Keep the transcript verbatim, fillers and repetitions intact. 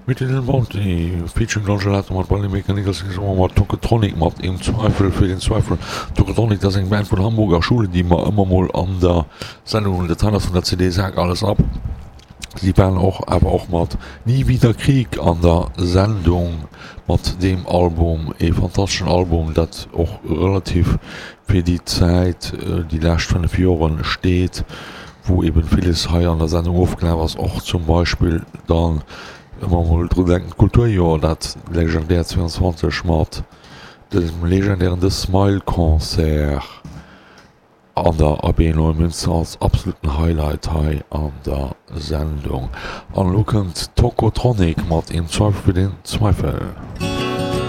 Mit den Bounty featuring Don Gelato mat Bonnie Maker Nicholson mat Tocotronic mat Im Zweifel für den Zweifel. Tocotronic, dat ass eng Band vun Hamburger Schule, déi mer ëmmer mol an der Sendung hunn. Dat hei ass vun der C D Sag alles ab. Si waren och awer och mat Nie wieder Krieg an der Sendung mat deem Album, ee fantasteschen Album, dat och relativ fir déi Zäit, déi lescht fënnef Joren steet, wou eben villes hei an der Sendung ofgelaf ass, och zum Beispill dann ëmmer mol dru denken, d'Kulturjoer, dat legendäert zweiundzwanzeg mat dem legendären The Smile Concert an der A B Neumünster als absoluten Highlight hei an der Sendung. An elo kënnt Tocotronic mat Im Zweifel für den Zweifel.